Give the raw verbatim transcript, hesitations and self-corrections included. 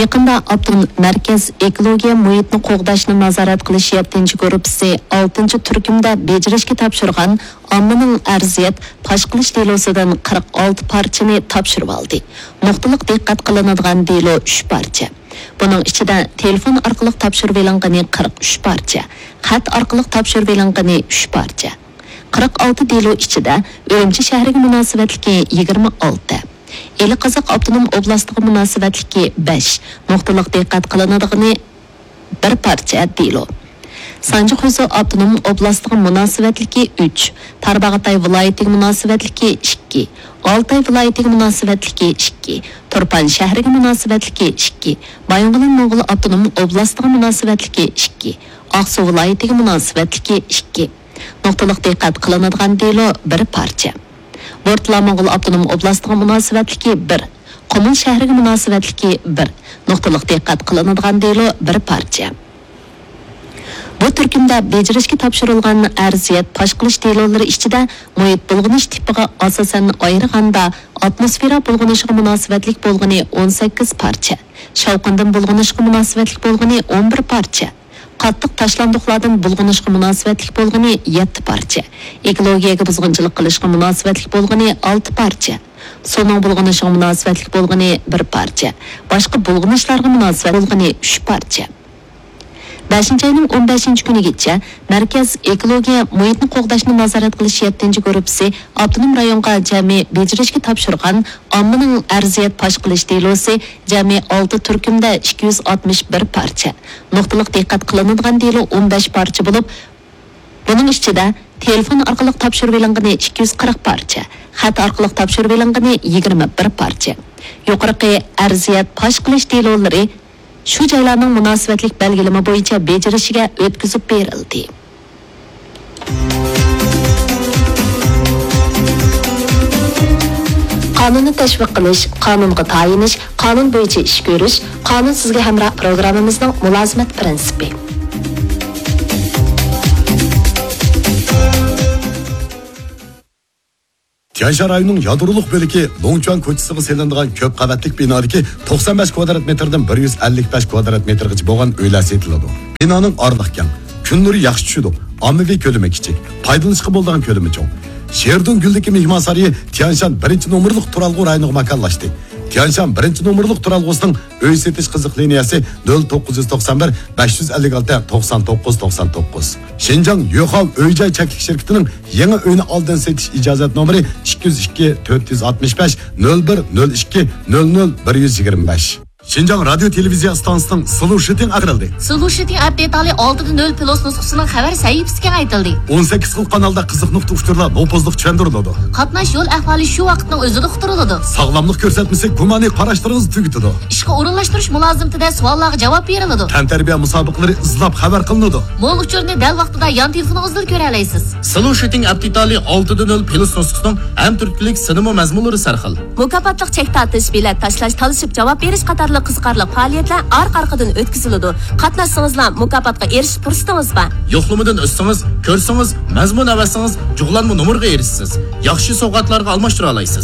يېقىندا ئاپتونوم مەركەز ئېكولوگىيە مۇھىتنى قوغداشنى نازارەت قىلىش يەتتىنچى گۇرۇپپىسى ئالتىنچى تۈركۈمدە بېجىرىشكە تاپشۇرغان ئاممىنىڭ ئەرزىيەت پاش قىلىش دېلوسىدىن قىرىق ئالتە پارچىنى تاپشۇرۇۋالدى. نۇقتىلىق دىققەت قىلىنىدىغان دېلو ئۈچ پارچە. بۇنىڭ ئىچىدە تېلېفون ئارقىلىق تاپشۇرۇۋېلىنغىنى قىرىق ئۈچ پارچە، خەت ئارقىلىق تاپشۇرۇۋېلىنغىنى ئۈچ پارچە. قىرىق ئالتە دېلو ئىچىدە ئۈرۈمچى شەھىرىگە مۇناسىۋەتلىكى يىگىرمە ئالتە، ئىلى قازاق ئاپتونوم ئوبلاستىغا مۇناسىۋەتلىكى بەش، نۇقتىلىق دىققەت قىلىنىدىغىنى بىر پارچە دېلو. سانجى خۇيزۇ ئاپتونوم ئوبلاستىغا مۇناسىۋەتلىكى ئۈچ، تارباغاتاي ۋىلايىتىگە مۇناسىۋەتلىكى ئىككى، ئالتاي ۋىلايىتىگە مۇناسىۋەتلىكى ئىككى، تۇرپان شەھىرىگە مۇناسىۋەتلىكى ئىككى، بايىنغولىن موڭغۇل ئاپتونوم ئوبلاستىغا مۇناسىۋەتلىكى ئىككى، ئاقسۇ ۋىلايىتىگە مۇناسىۋەتلىكى ئىككى. نۇقتىلىق دىققەت قىلىنىدىغان دېلو بىر پارچە. بورتالا موڭغۇل ئاپتونوم ئوبلاستىغا مۇناسىۋەتلىكى بىر، قۇمۇل شەھىرىگە مۇناسىۋەتلىكى بىر، نۇقتىلىق دىققەت قىلىنىدىغان دېلو بىر پارچە. بۇ تۈركۈمدە بېجىرىشكە تاپشۇرۇلغان ئەرزىيەت پاش قىلىش دېلولىرى ئىچىدە مۇھىت بۇلغىنىش تىپىغا ئاساسەن ئايرىغاندا، ئاتموسفېرا بۇلغىنىشىغا مۇناسىۋەتلىك بولغىنى ئون سەككىز پارچە، شاۋقۇندىن بۇلغىنىشقا مۇناسىۋەتلىك بولغىنى ئون بىر پارچە، قاتتىق تاشلاندۇقلاردىن بۇلغىنىشقا مۇناسىۋەتلىك بولغىنى يەتتە پارچە، ئېكولوگىيەگە بۇزغۇنچىلىق قىلىشقا مۇناسىۋەتلىك بولغىنى ئالتە پارچە، سۇنىڭ بۇلغىنىشىغا مۇناسىۋەتلىك بولغىنى بىر پارچە، باشقا بۇلغىنىشلارغا مۇناسىۋەت بولغىنى ئۈچ پارچە. بەشىنچى ئاينىڭ ئون بەشىنچى كۈنىگىچە مەركەز ئېكولوگىيە مۇھىتنى قوغداشنى نازارەت قىلىش يەتتىنچى گۇرۇپپىسى ئاپتونوم رايونغا جەمئىي بېجىرىشكە تاپشۇرغان ئاممىنىڭ ئەرزىيەت پاش قىلىش دېلوسى جەمئىي ئالتە تۈركۈمدە ئىككى يۈز ئاتمىش بىر پارچە، نۇقتىلىق دىققەت قىلىنىدىغان دېلو ئون بەش پارچە بولۇپ، بۇنىڭ ئىچىدە تېلېفون ئارقىلىق تاپشۇرۇۋېلىنغىنى ئىككى يۈز قىرىق پارچە، خەت ئارقىلىق تاپشۇرۇۋېلىنغىنى يىگىرمە بىر پارچە. يۇقىرىقى ئەرزىيەت پاش قىلىش دېلولىرى شۇ جايلارنىڭ مۇناسىۋەتلىك بەلگىلىمە بويىچە بېجىرىشىگە ئۆتكۈزۈپ بېرىلدى. قانۇننى تەشۋىق قىلىش، قانۇنغا تايىنىش، قانۇن بويىچە ئىش كۆرۈش، قانۇن سىزگە ھەمراھ پروگراممىمىزنىڭ مۇلازىمەت پىرىنسىپى. تيەنشان رايونىنىڭ يادرولۇق بۆلىكى لوڭچۈەن كوچىسىغا سېلىنىدىغان كۆپ قەۋەتلىك بىنادىكى توقسان بەش كۋادرات مېتىردىن بىر يۈز ئەللىك بەش كۋادرات مېتىرغىچە بولغان ئۆيلەر سېتىلىدۇ. بىنانىڭ ئارىلىقى كەڭ، كۈن نۇرى ياخشى چۈشىدۇ، ئاممىۋى كۆلىمى كىچىك، پايدىلىنىشقا بولىدىغان كۆلىمى چوڭ. شېردۇن گۈلدىكى مېھمانسارىيى تيەنشان بىرىنچى نومۇرلۇق تۇرالغۇ رايونىغا ماكانلاشتى. تيەنشان بىرىنچى نومۇرلۇق تۇرالغۇسىنىڭ ئۆي سېتىش قىزىق لىنىيەسى نۆل توققۇز يۈز توقسان بىر، بەش يۈز ئەللىك ئالتە، توقسان توققۇز، توقسان توققۇز. شىنجاڭ يۆخاۋ ئۆي جاي چەكلىك شىركىتىنىڭ يېڭى ئۆينى ئالدىن سېتىش ئىجازەت نومۇرى ئىككى يۈز ئىككى، تۆت يۈز ئاتمىش بەش، نۆل بىر، نۆل ئىككى، نۆل نۆل، بىر يۈز يىگىرمە بەش. شىنجاڭ رادىيو تېلېۋىزىيە ئىستانسىسىنىڭ سلۇشىتىڭ ئاخىرىلدى. سلۇشىتىڭ ئەپ دېتالى ئالتە دە نۆل پلۇس نۇسخىسىنىڭ خەۋەر سەھىپىسى كېڭەيتىلدى. ئون سەككىز خىل قانالدا قىزىق نۇقتا ئۇچۇرلار نوپۇزلۇق چۈشەندۈرۈلىدۇ. قاتناش يول ئەھۋالى شۇ ۋاقىتنىڭ ئۆزىدە ئۇقتۇرۇلىدۇ. ساغلاملىق كۆرسەتمىسى گۇمانىي قاراشلىرىڭىزنى تۈگىتىدۇ. ئىشقا ئورۇنلاشتۇرۇش مۇلازىمىتىدە سوئاللارغا جاۋاب بېرىلىدۇ. تەنتەربىيە مۇسابىقىلىرى ئىزداپ خەۋەر قىلىنىدۇ. مول ئۇچۇرنى دەل ۋاقتىدا يان تېلېفونىڭىزدىلا كۆرەلەيسىز. سلۇشىتىڭ ئەپ دېتالى ئالتە دە نۆل پلۇس نۇسخىسىنىڭ ھەم تۈرتكىلىك سىنىما مەزمۇنلىرى سەرخىل. مۇكاپاتلىق چەك تارتىش، بېلەت تاشلاش، تالىشىپ جاۋاب بېرىش قاتارلىق قىزىقارلىق پائالىيەتلەر ئارقا-ئارقىدىن ئۆتكۈزۈلىدۇ. قاتناشسىڭىزلا مۇكاپاتقا ئېرىشىش پۇرسىتىڭىز بار. يوقلىمىدىن ئۆتسىڭىز، كۆرسىڭىز، مەزمۇن ئەۋەتسىڭىز، جۇغلانما نومۇرغا ئېرىشىسىز. ياخشى سوۋغاتلارغا ئالماشتۇرالايسىز.